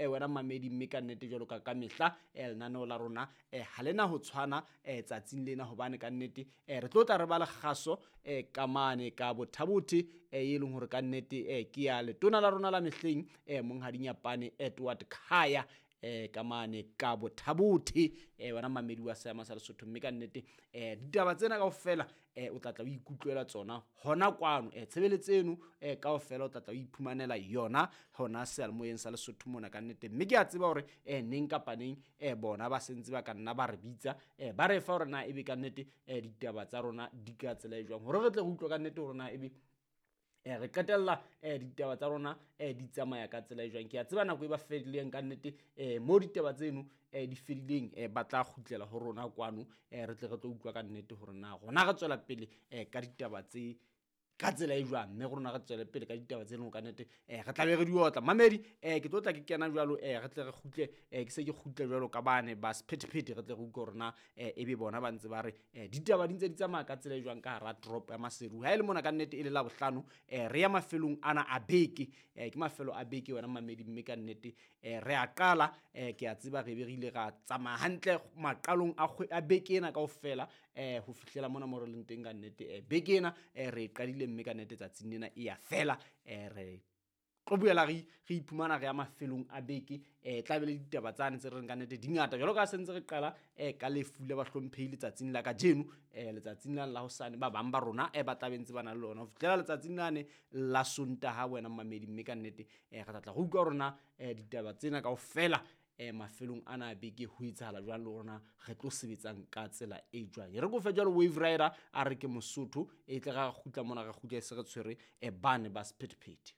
Wena mamedi, mme ka nnete jwalo ka mehla lenaneo la rona ha lena ho tshwana tsatsing lena, hobane ka nnete re tlo tla re ba le kgaso ka mane ka Botha-Bothe, e leng hore ka nnete ke ya letona la rona la mehleng, Monghadi Nyapane Edward Khaya, ka mane ka Botha-Bothe, wena mamedi wa seama sa Lesotho. Mme ka nnete ditaba tsena kaofela o tla tla o ikutlwela tsona hona kwano, tshebeletso eno kaofela o tla tla o iphumanela yona hona seyalemoyeng sa Lesotho mona ka nnete. Mme ke a tseba hore neng kapa neng bona ba sentse ba ka nna ba re bitsa, ba re fa hore na ebe ka nnete ditaba tsa rona di ka tsela e jwang, hore re tle re utlwe ka nnete hore na ebe re qetella ditaba tsa rona di tsamaya ka tsela e jwang. Ke a tseba nako e ba fedileng ka nnete, mo ditaba tseno di fedileng, ba tla kgutlela ho rona kwano, re tle re tlo utlwa ka nnete hore na rona re tswela pele ka ditaba tse ka tsela e jwang, mme rona re tswele pele ka ditaba tse leng ka nnete re tla be re di otla. Mamedi, ke tlo tla ke kena jwalo, re tle re kgutle, ke se ke kgutle jwalo ka bane ba sephethephethe, re tle re utlwe hore na ebe bona ba ntse ba re ditaba di ntse di tsamaya ka tsela e jwang ka hara toropo ya Maseru. Ha e le mona ka nnete e le Labohlano, re ya mafelong ana a beke, ke mafelo a beke wena mamedi, mme ka nnete re a qala, ke a tseba re be re ile ra tsamaya hantle maqalong a beke ena kaofela, ho fihlela mona mo re leng teng ka nnete. Beke ena re e qadile, mme ka nnete tsatsing lena e ya fela, re tlo boela re iphumana re ya mafelong a beke, tla be le ditaba tsane tse re reng ka nnete di ngata, jwalo ka ha se ntse re qala ka lefu la bahlomphehi letsatsing la kajeno, letsatsing lane la hosane ba bang ba rona ba tla be ntse ba na le lona ho fihlela letsatsing lane la Sontaha, wena mamedi. Mme ka nnete re tla tla re utlwa hore na ditaba tsena kaofela mafelong ana a beke ho etsahala jwang, le rona re tlo sebetsang ka tsela e jwang. E re ko fe jwalo Wave Rider a re ke Mosotho, e tle ra kgutla mona, re kgutle se re tshwere bane ba sephethephethe.